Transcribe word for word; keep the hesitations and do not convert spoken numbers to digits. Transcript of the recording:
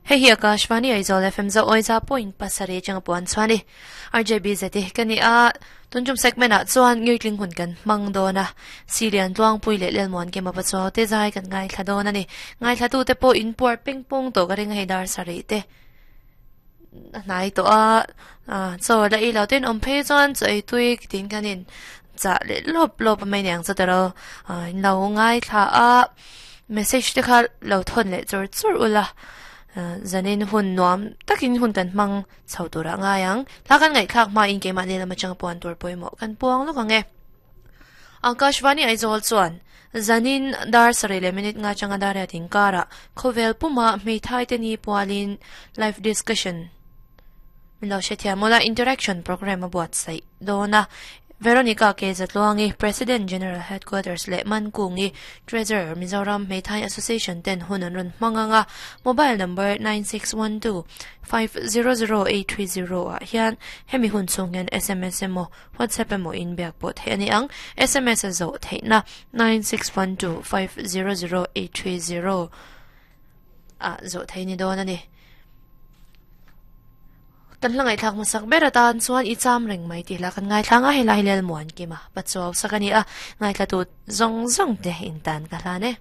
Hei hi Akashvani Aizawl F M zo oiza point pasarih atanga puan chuan ni R J B zeti ka ni a tuntum segment ah chuan ngirtling hun kan hmang dawn a Silian tluangpui leh lelmuan ke mapa chaw te zai kan ngai thla dawn ani ngai thla tu te pawh in puar peng pawng tawh ka ring a hei dar sarih te hnai tawh a chaw la ei lo ten awm phei chuan chaw ei tui tin kan in chah leh lawp lawp a mai niang chu taro in lo ngai thla a message te kha lo thawn leh chur chur ula zanin hun nuam takin hun kan hmang chho tura ngai ang thla kan ngaih thlak hma in keimah ni lama chang puan tur pawimawh kan puang lawk ang e Akashvani Aizawl chuan zanin dar sarih leh minute nga changa dar riat inkara khawvel puma hmeithai te ni pualin live discussion min lo hrethiam ula interaction program a buatsaih dawn a Veronica K. Zatluangi, President General Headquarters leh Mankungi, Treasurer Mizoram Hmeithai Association ten hun an rawn hmang anga mobile number nine six one two five zero zero eight three zero ah hian hemi hun chhung hian S M S emaw WhatsApp emaw in biak pawh theih ani ang S M S a zawh theihna nine six one two five zero zero eight three zero ah zawh theih ni dawn ani. Kan hla ngaihthlak hmasak ber atan chuan i cham reng mai tih lah kan ngaithla nga helai lel muan kima pachuau sak ani a ngaithla tu zawng zawng te in tan ka hlan e.